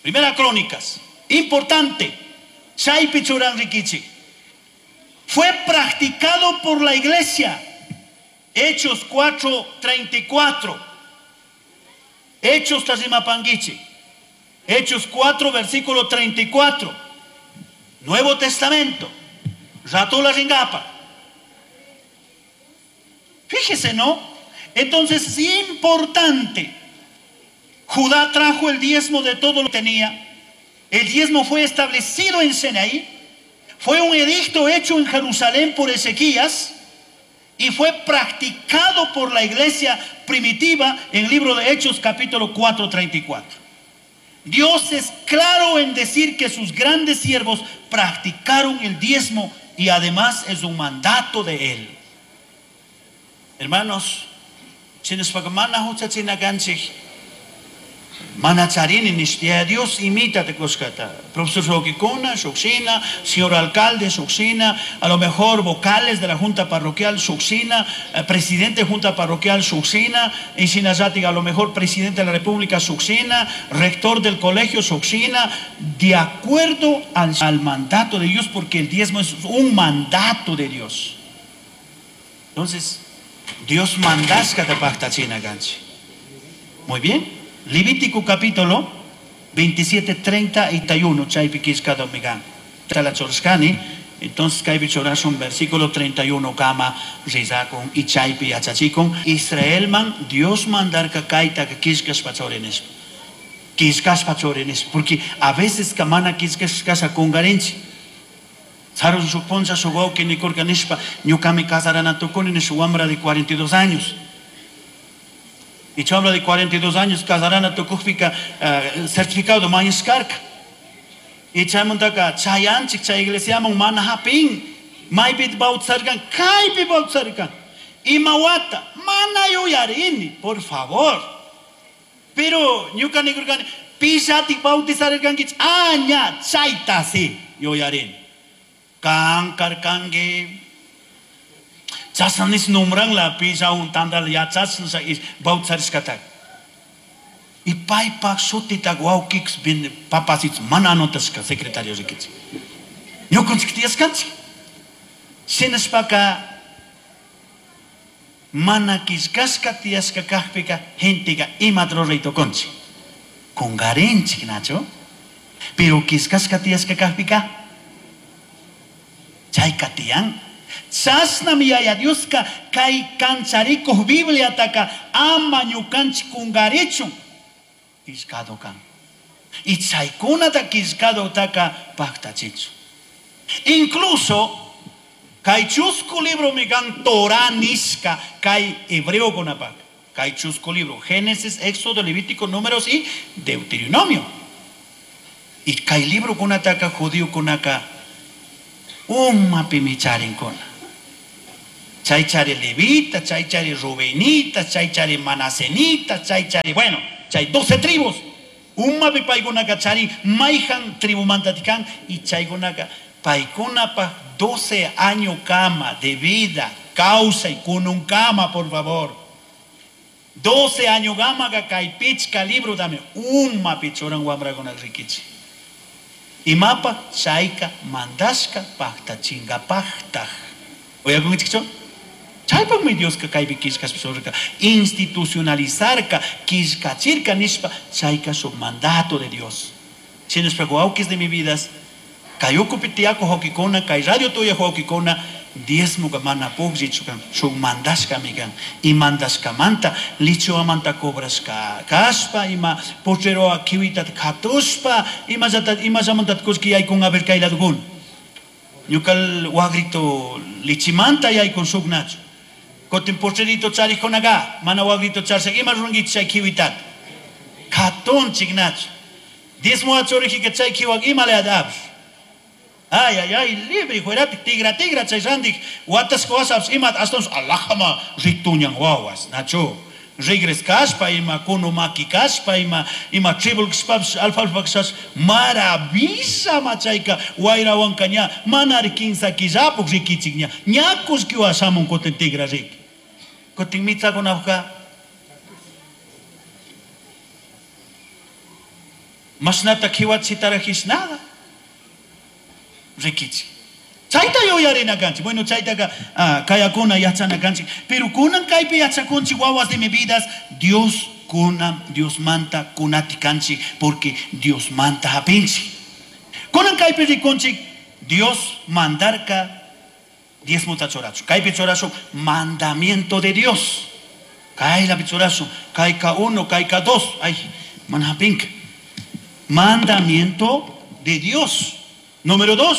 Primera Crónicas. Importante. Chaypi churan rikichi. Fue practicado por la iglesia. Hechos 4:34. Hechos Tazimapanguichi. Hechos 4, versículo 34. Nuevo Testamento. Ratula Ringapa. Fíjese, ¿no? Entonces es importante. Judá trajo el diezmo de todo lo que tenía. El diezmo fue establecido en Sinaí. Fue un edicto hecho en Jerusalén por Ezequías y fue practicado por la iglesia primitiva en el libro de Hechos capítulo 4:34. Dios es claro en decir que sus grandes siervos practicaron el diezmo y además es un mandato de él. Hermanos, Sinuspakamana huchachinakanchik, mana charini nishtia Dios imítate coscata. Profesor Shokikuna, Shokshina, señor alcalde Shokshina, a lo mejor vocales de la junta parroquial Shokshina, presidente de junta parroquial Shokshina, y Sinayatig, a lo mejor presidente de la República Shokshina, rector del colegio Shokshina, de acuerdo al mandato de Dios, porque el diezmo es un mandato de Dios. Entonces, Dios mandasca te pacta china ganchi. Muy bien. Levítico capítulo 27, 31, chaypi kishka domigan. La chorskani, entonces kaypi chorashun versículo 31 kama rizakun y chaypi yachachikun. Israel man Dios mandarka kayta ka kishkas pachorenes. Kishkas pachorenes, porque a veces kamana kishkas kasa kungarenchi. Sarun suponza su wauki ni kurka nishpa, ñukami casarana tukuni ni su wambra de 42 años. Y chambra de 42 años casarana tukujpika, certificado mañiskarka. Y chaymantaka chayanchik chay iglesiaman mana hapin, maypi bautizarkan, kaypi bautizarkan. Imawata, mana yuyarini, por favor. Pero ñuka nikurkani, pishatik bautizarkankichik, aña chayta si yuyarini. Kan karkangi. Chasanis nombran la pisa un tandal ya chasnsa is bautizarishkatak. Y paypak shutita wawkik bin papasits mana anotashka secretario rikichik. Ñukanchik tiyaskanchik. Shinashpaka mana killkashka tiyashka kajpika genteka imata ruray tukunchik. Kungarinchik nacho. Pero killkashka tiyashka kajpika chayka tiyan. Chasnami Yaya Dioska kay kancharikuq Bibliataka ama ñukanchik kungarichun killkado kan. Y chaykunata killkadotaka paqtachichun. Incluso Kay chusku libromi kan Torah nishka kay hebreokunapak. Kay chusku libro, Génesis, Éxodo, Levítico, Números y Deuteronomio. Y kay librokunataka judiokunaka umapimi charinkuna. Chay chari levita, chay chari rubenita, chay chari manasenita, chay chari, bueno, chay 12 tribus. Umapi paykunaka charin mayhan tribumantatikan y chaykunaka paykunapaj 12 años kama de vida, causa y kununkama, por favor. 12 años gama kay pichka libro dame umapi churan wamrakuna rikichi. Imapa chayka mandashka pajtachingapajtaj. Oyakunkichikchu? Chaypaqmi Dioska kaypi killkashpa institucionalizarka, killkachirka nishpa chayka shuk mandato de Dios. Shinashpa wawkis de mi vidas, kay ukupi tiyakuq wawkikuna, kay radio tuyaq wawkikuna, diezmoka mana pukllichu kan, shuk mandashkami kan. Y mandashkamanta lichuamanta cobrashka kashpa, ima pocheroa kiwitata katushpa, imallamanta kullki yaykun a ver kay ladukuna. Ñukal wagrito lichimanta yaykun shuk nachu. Kotin pocherito charijkunaqa, mana wagrito charshak, ima rurankichik chay kiwitata. Katunchik nachu. Diezmo achorijika chay kiwak ima layata apish. Ay, ay, ay, libre, fueratik, tigra, tigra, chay randik, watasqa wasapis imata ashtawanpish alajama rituñan wawas, nachu. Rigres kashpa, ima kunu maki kashpa, ima tribul kashpapish, alfalfa kashpapish, maravilla ma chayka, wayrawanka ña, manari kinsa killapuk rikichik ña, ña kullkiwan shamun kutin tigra riki. Kutin mitzakunapukka, mashnata kiwachitarajish nada. Rikichik. Chayta yuyarina kanchik. Bueno, chaytaqa, kayakuna yachana kanchik. Pero kunan kaypi yachakunchik wawas de mi vidas, Dios kunan, Dios manta kunati kanchik, porque Dios manta hapinchik. Kunan kaypi rikunchik, Dios mandarka diezmota churachu. Kaypi churachu mandamiento de Dios. Kaylapi churachu, kayka 1, kayka 2. Ay, mana hapinka. Mandamiento de Dios. Número 2,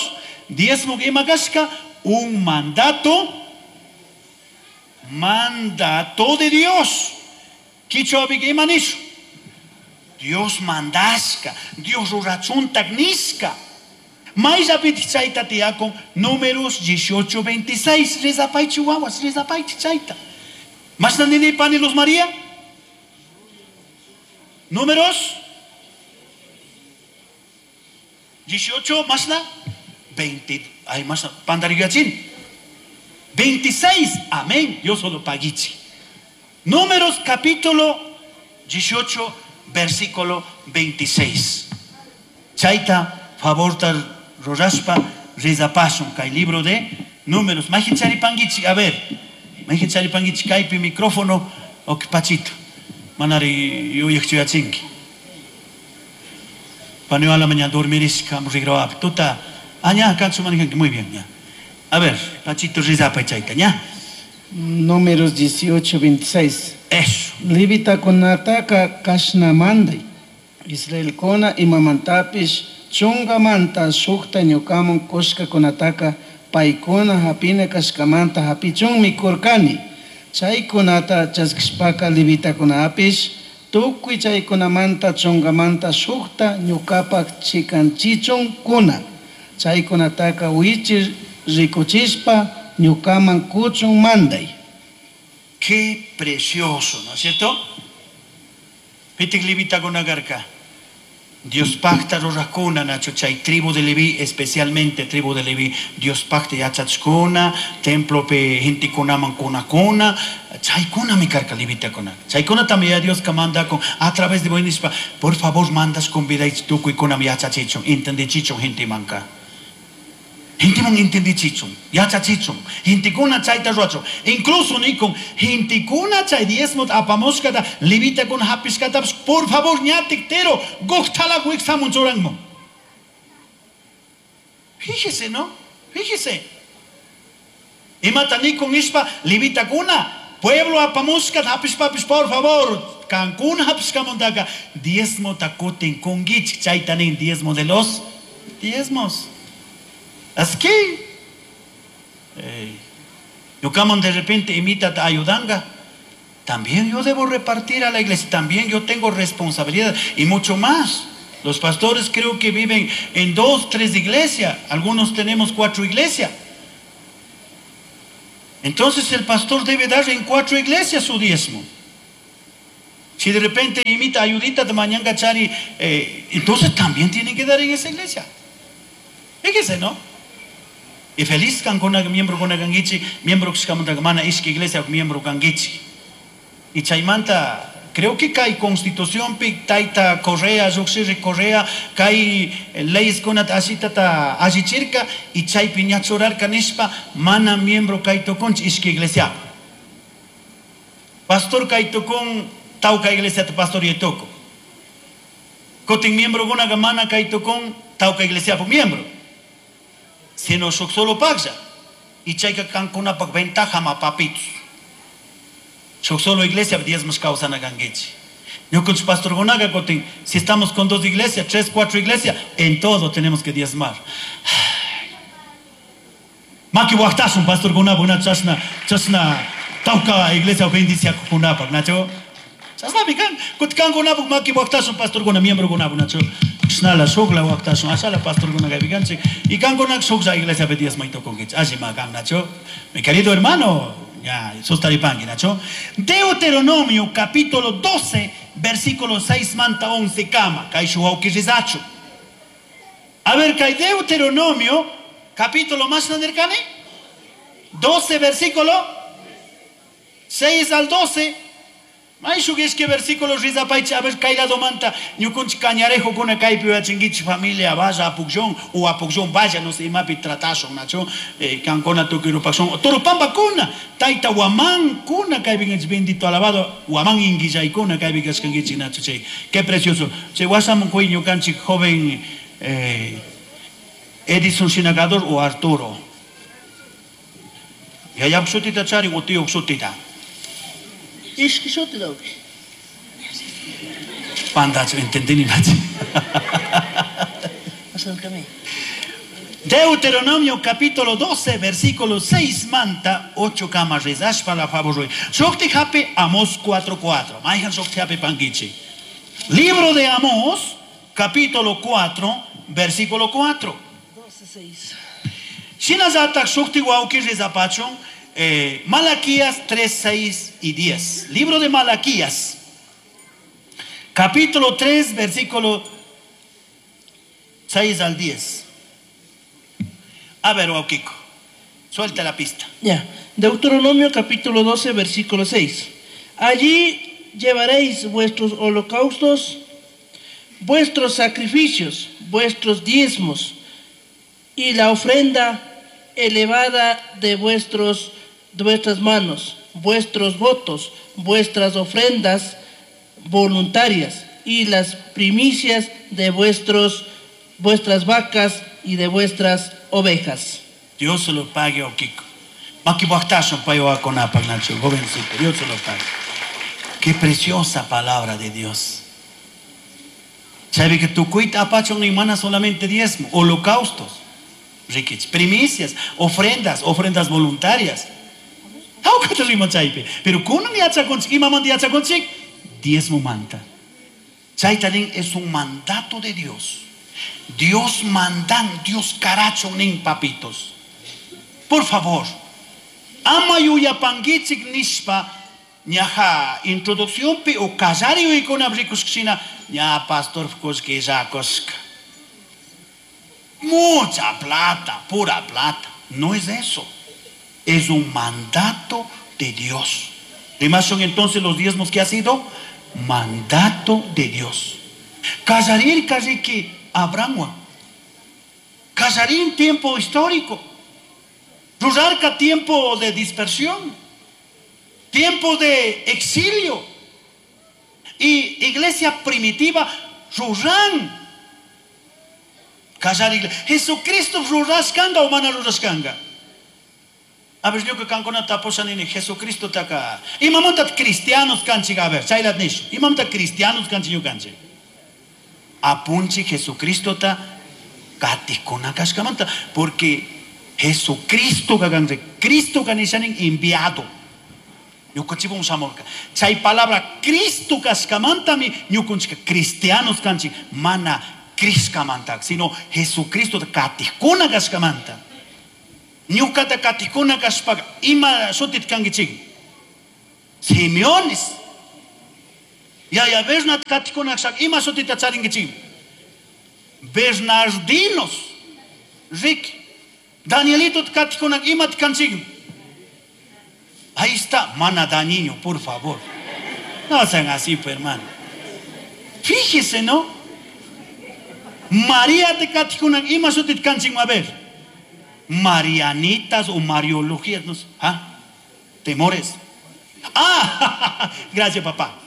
diezmo ima kashka, un mandato, mandato de Dios. Kichwapi ima nishu. Dios mandashka, Dios rurachuntak nishka. Mayllapitik chayta tiyakun, Números 18:26. Rizapaychi wawas, rizapaychi chayta. Mashna nini pani Luz María? Números 18, mashna 20, ay, mashna, pandarigachin. 26, amén, Dios solo paguichi. Números capítulo 18, versículo 26. Chaita, favorta roraspa, rizapasun, kay libro de Números. Majin charipanguichi, a ver, majin charipanguichi, kaypi micrófono, ok, pachito. Manari yuyakchuyachinki. Paneo a la mañana dormir, rigraba. Tuta, aña, canso manejan, muy bien, ya. A ver, Pachito rizapa chaita, ya. Números 18, 26. Eso. Levita kunataka kashna manday. Israel kona imamantapish chunga manta shukta ñukamun kushka kunataka paykuna hapina kashkamanta hapichunmi kurkani. Chaykunata chaskishpaka levitakunapish tukuy chaykunamanta chungamanta shukta ñukapak chikanchichun kuna. Chaykunataka wichi rikuchishpa ñukaman kuchun manday. Qué precioso, ¿no es cierto? Pitik levitakunakarka. Dios pacta rurajkuna, Nacho, chay tribu de Leví, especialmente tribu de Leví, Dios pacta yachachkuna, templo pe gentekunaman kunakuna, chaykuna mi karka levitakuna. Chaykuna también Dios que manda con, a través de buenispa, por favor mandas con vida y tukuy kuna yachachichun, entendichichun gente manca. Gente man entendichichun, yachachichun, gentekuna chayta ruachun. Incluso ni con gentekuna chay diezmo apamoskata, levita con hapiskata, por favor, ñatiktero, goctala huixamun choranmo. Fíjese, ¿no? Fíjese. Imata ni con ispa, levita kuna, pueblo apamoskata, hapispapis, por favor, Cancún hapiskamontaka, diezmo takutin kungich, chaytanin diezmo de los diezmos. Así que, Ñukaman de repente imita ayudanga. También yo debo repartir a la iglesia, también yo tengo responsabilidad y mucho más. Los pastores creo que viven en 2, 3 iglesias, algunos tenemos 4 iglesias. Entonces el pastor debe dar en 4 iglesias su diezmo. Si de repente imita ayudita de mañana chari, entonces también tienen que dar en esa iglesia. Fíjese, ¿no? Y feliz kan con miembro con gangichi, miembro que mana ishki iglesia miembro gangichi. Y chaymanta, creo que cae constitución pi taita Correa, Yoxirri Correa, cae leyes con asita ta ajichirka y chay piñachorar canispa mana miembro kaito con ishki iglesia. Pastor kaito con tauka iglesia ta pastor yetoko. Kotin miembro gona mana kaito con tauka iglesia por miembro. Sino solo pagsa. Y chayka kankuna pak ventaja ma papitos. Solo iglesia diezmos causa na ganguechi. Yo con su pastor Gonaga, kotin, si estamos con 2 iglesias, 3, 4 iglesias, en todo tenemos que diezmar. Maki waqtasun pastor Gonaga, una chasna, chasna, tauka iglesia bendicia kunapak, nacho. Chasna bikan, kutkan Gonaga, maki waqtasun pastor Gona, miembro Gonaga, nacho. Snala shukla waqtasun, asala pastor Gonaga bikanche. Y kan Gonaga shukla iglesia diezma y tokonguech. Así makan, nacho. Mi querido hermano, ya, sostaripangi, nacho. Deuteronomio capítulo 12, versículo 6 manta 11 kama, kaishu hauki rizachu. A ver, kai Deuteronomio capítulo más nanerkane 12 versículo 6 al 12. Maishu es que versículo rizapaichi, a ver, kai la domanta, ñukunchi cañarejo con kai piba chinguichi familia, vaya a Pucllón, o a Pucllón vaya, no sé, imapi tratazo, nacho, cancona tuquirupaxón, Toropamba kuna, taita huamán kuna, kai bien bendito alabado, huamán inguillay kuna, kai bien chinguichi, nacho, che, qué precioso. Che, guasam cuiño canchi joven Edison Sinagador o Arturo. Ya ya psutita chari, o tío psutita. Ishki shoti dawki. Pandacho, entendí ni machi. Acércame. Deuteronomio capítulo 12, versículo 6, manta, 8 camas rezash para favor. Shokti hape Amós 4:4. Maihan shokti hape pangichi. Libro de Amós, capítulo 4, versículo 4. 12, 6. Shinazatak shokti wauki rezapachon. Malaquías 3, 6 y 10. Libro de Malaquías, capítulo 3, versículo 6 al 10. A ver, Kiko, suelta la pista. Ya. Deuteronomio capítulo 12, versículo 6. Allí llevaréis vuestros holocaustos, vuestros sacrificios, vuestros diezmos y la ofrenda elevada de vuestras manos, vuestros votos, vuestras ofrendas voluntarias y las primicias de vuestras vacas y de vuestras ovejas. Dios se lo pague, oh Kiko. Maki waqtasun pay wawakunapaq, Nacho, jovencito. Dios se lo pague. Qué preciosa palabra de Dios. Sabe que tu cuita apachon ni mana solamente diezmo, holocaustos, riquich, primicias, ofrendas, ofrendas voluntarias. Hauka rima chaypi. Pero kunan yachakunchik, imamanta yachakunchik, diezmo manta. Chayta nin es un mandato de Dios. Dios mandan, Dios caracho nin papitos. Por favor, ama yuyapankichik nishpa ñaja introducción pi o kallari uykuna rikushkshina ña pastor kushkillakushka. Mucha plata, pura plata. No es eso. Es un mandato de Dios. Además son entonces los diezmos que ha sido mandato de Dios. Kallarir karriki Abraham. Kallarín tiempo histórico. Rurarca tiempo de dispersión. Tiempo de exilio. Y iglesia primitiva, Rurán. Callar iglesia. Jesucristo rurascanga o mana rurascanga. A ver, yo que cancona taposa nini, Jesucristo taka. Y mamonta cristianos canchi, a ver, chaylat nish. Y mamonta cristianos canchi yo canchi. Apunchi Jesucristo ta katikuna kashkamanta. Porque Jesucristo kaganri. Cristo kanishanin enviado. Ñukanchikwan shamurka. Chay palabra Cristo kashkamantami ñukanchika cristianos kanchik mana Criskamanta, sino Jesucristo katijkuna kashkamanta. Ñukata katijkuna kashpaka ima shutit kankichik? Simeones. Yaya Bernat katijkuna kashaka ima shutita charinkichik? Bernardinos. Rick. Danielito katijkuna imat kanchik? Ahí está, mana dañino, por favor. No sean así, pues, hermano. Fíjese, ¿no? María te katijkuna ima shutit kanchik, a ver. Marianitas o Mariologías, no sé. ¿Ah? Temores. Ah, gracias, papá.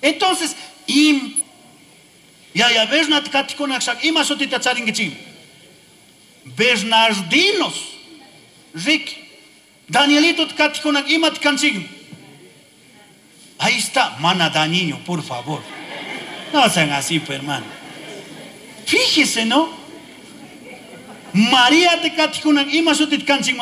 Entonces, im Yaya Bernat katijkuna kashaka ima shutita charinkichik? Bernardinos. Rick. Danielito katijkuna imat kanchik? Ahí está, mana dañino, por favor. No sean así, pues, hermano. Fíjese, ¿no? María te katijkuna ima shutit kanchik?